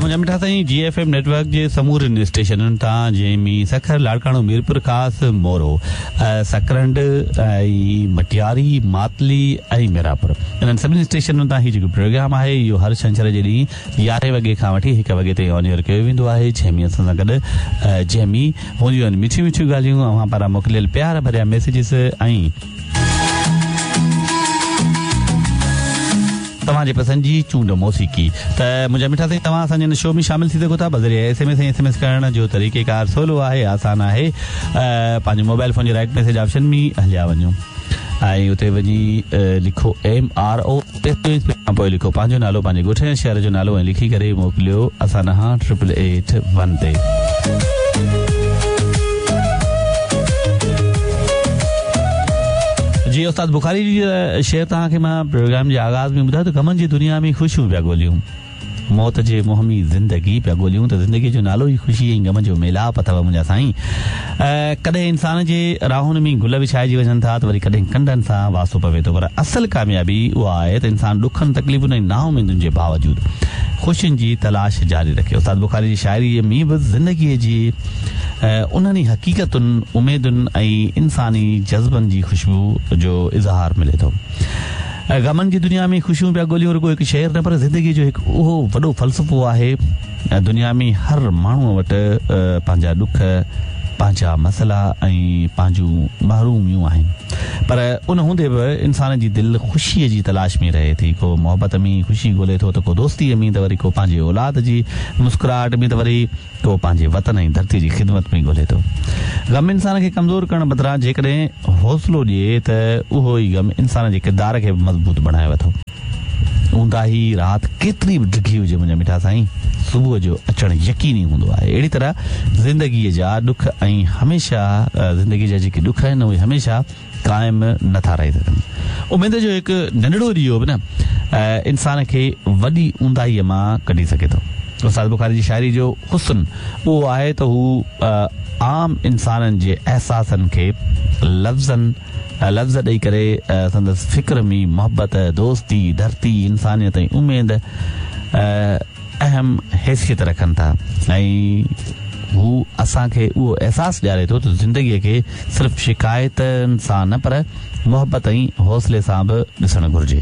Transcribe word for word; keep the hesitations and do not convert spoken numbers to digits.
منهنجا مٺا سائين جي ايف ايم نيٽ ورڪ جي سمورن اسٽيشنن تان جنهن ۾ سکر، لاڙڪاڻو، ميرپور خاص، مورو، سڪرنڊ ۽ مٽياري، ماتلي ۽ ميراپور، انهن سڀني اسٽيشنن تان هي جيڪو پروگرام آهي اهو هر ڇنڇر جي ڏينهن يارهين وڳي کان وٺي هڪ وڳي تائين آن ايئر ڪيو ويندو آهي، جنهن ۾ اسان سان گڏ جنهن ۾ هونديون آهن مٺيون مٺيون ڳالهيون، اوهان پاران موڪليل پيار ڀريا ميسيجز ۽ توهان جي پسند جي چونڊ موسيقي. ته منهنجا مٺا سائين توهان اسان جي هن شو ۾ شامل ٿي سگهو ٿا بذريعي S M S ۽ S M S ڪرڻ جو طريقيڪار سولو آهي، آسان آهي. پنهنجي موبائل فون جي رائٽ ميسيج آپشن ۾ هليا وڃو ۽ اتي وڃي لکو ايم آر او کان پوءِ لکو پنهنجو نالو، پنهنجي ڳوٺ يا شهر جو نالو ۽ لکي ڪري موڪليو اسان ڏانهن ٽرپل ايٽ ون تي. جي استاد بخاري جي شعر توهان کي مان پروگرام جي آغاز ۾ ٻڌايو ته غمن جي دنيا ۾ خوشيون پيا ڳوليون، موت جي منهن ۾ زندگي پيا ڳوليون، ته زندگي جو نالو ئي خوشي ۽ غم جو ميلاپ اٿو منهنجا سائين. ڪڏهن انسان جي راهن ۾ گل وڇائجي وڃن ٿا ته وري ڪڏهن ڪنڊن سان واسطو پوي ٿو، پر اصل ڪاميابي اها آهي ته انسان ڏکن، تڪليفن ۽ نااميدن جي باوجود خوشين جي تلاش جاري رکي. استاد بخاري جي شاعريء ۾ به زندگيء جي انهن ئي حقيقتن، اميدن ۽ انساني جذبن جي خوشبو جو اظهار ملي ٿو. غمن جي دنيا ۾ خوشيون پيا ڳوليون رڳو هڪ شعر نه پر زندگيء جو هڪ اهو وڏو فلسفو آهي. دنيا ۾ هر ماڻهوء وٽ پنهنجا ڏک، پنهنجا مسئلا ۽ پنهنجون محروميون آهن، پر ان هوندي به انسان جي دل خوشيء جي تلاش ۾ رهي ٿي. ڪو محبت ۾ خوشي ڳولي ٿو ته ڪو دوستيء ۾ ته وري ڪو پنهنجي اولاد جي مسڪراهٽ ۾ ته وري ڪو پنهنجي وطن ۽ ڌرتيء جي خدمت ۾ ڳولي ٿو. غم انسان کي ڪمزور ڪرڻ بدران جيڪڏهن حوصلو ڏئي ته اهو ئي غم انسان جي ڪردار کي به مضبوط بڻائي ٿو. اونداهي رات ڪيتري به ڊگهي هجي منهنجا مٺا سائين، صبح جو اچڻ يقيني هوندو آهي. اهڙي طرح زندگيء جا ڏک ۽ هميشه زندگيء جا جيڪي ڏک آهن اهي هميشه قائم نٿا رهي سگهن. اميد جو هڪ ننڍڙو ڏيئو به نه انسان کي وڏي اونداهيء مان ڪڍي سگهي ٿو. استاد بخاري جي شاعري جو حسن اهو آهي ته هو عام انسانن جي احساسن کي لفظن لفظ ڏيئي ڪري سندس فڪر ۾ محبت، دوستي، ڌرتي، انسانيت ۽ اميد اهم حيثيت رکن ٿا ۽ هو اسان کي اهو احساس ڏياري ٿو ته زندگيء کي صرف شڪايتن سان نه پر محبت ۽ حوصلي سان به ڏسڻ گهرجي.